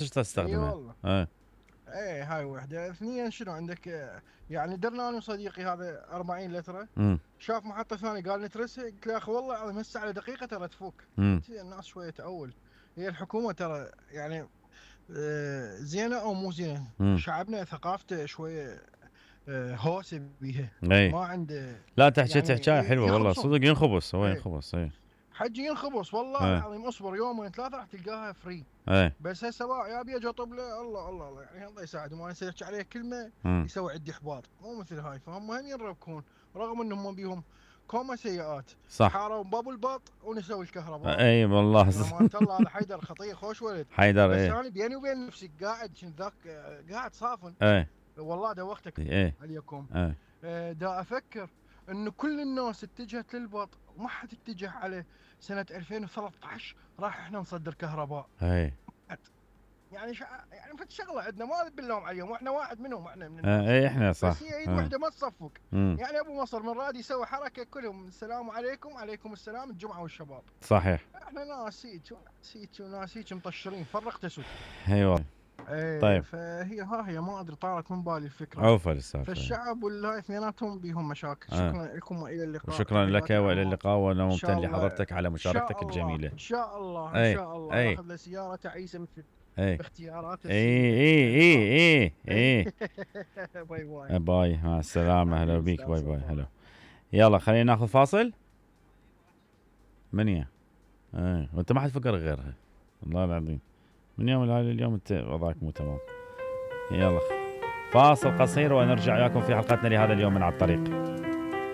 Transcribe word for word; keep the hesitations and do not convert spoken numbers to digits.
ايش اي تستخدمها؟ والله. ايه ايه هاي وحده. اثنين شنو عندك؟ آه، يعني درنا انا وصديقي هذا أربعين لتره، امم شاف محطه ثانيه قال نترسها، قلت له يا اخي والله العظيم هسه على دقيقه ترى تفك. امم قلت الناس شويه تأول، هي الحكومه ترى يعني آه، زينه او مو زينه، امم شعبنا ثقافته شويه آه، هوسه بيها، اي ما عنده لا تحكي يعني تحكيها حلوه والله يخبصون. صدق ينخبص هو ايه ينخبص اي حجي ينخبص والله اي العظيم، اصبر يومين ثلاثه راح تلقاها فري. اي بس هسه بقى يا ابي اجي اطب له، الله الله الله يعني الله يساعده، ما يصير يحكي عليه كلمه امم يسوي عندي احباط، مو مثل هاي. فهم هم ينربكون رغم انهم ما بيهم كوما سيئات، صح حاروا باب الباط ونسوي الكهرباء. اي والله يعني امانه الله هذا حيدر خطيه خوش ولد. حيدر بس ايه انا بيني وبين نفسي قاعد كنت ذاك قاعد صافن، ايه والله دوختك ايه عليكم. ايه آه، دا افكر انه كل الناس اتجهت للبط وما حد اتجه على سنه ألفين وثلاثة عشر راح احنا نصدر كهرباء. ايه يعني شع... يعني فد شغله عندنا ما باللوم عليهم، واحنا واحد منهم، احنا من ايه الناس. ايه احنا بس صح هي ايد اه واحده ما تصفق. امم يعني ابو مصر من راد يسوي حركه كلهم السلام عليكم عليكم السلام الجمعه والشباب. صحيح احنا ناس هيك هيك وناس هيك مطشرين فرق تسد. ايوه ايه طيب فهي ها هي ما ادري طارت من بالي الفكره. عوفة السالفة فالشعب والله اثنيناتهم بهم مشاكل. اه شكرا لكم والى اللقاء، وشكرا لك تحياتي والى عمار. اللقاء وانا ان ممتن شاء الله لحضرتك على ان شاء مشاركتك الله الجميلة ان شاء الله ان اي شاء الله اي ياخذ له سياره تعيسه مثل اي باختيارات اي السيده. اي الى اي اللقاء. اي اي باي باي. باي مع السلامة هلا حبيبي بيك استاذ باي باي صفاء. هلا يلا خلينا ناخذ فاصل منيا ايه وانت ما حد فكر غيرها والله العظيم من يوم الهالي اليوم انت وضعك مو تمام يلا فاصل قصير ونرجع وياكم في حلقتنا لهذا اليوم من على الطريق.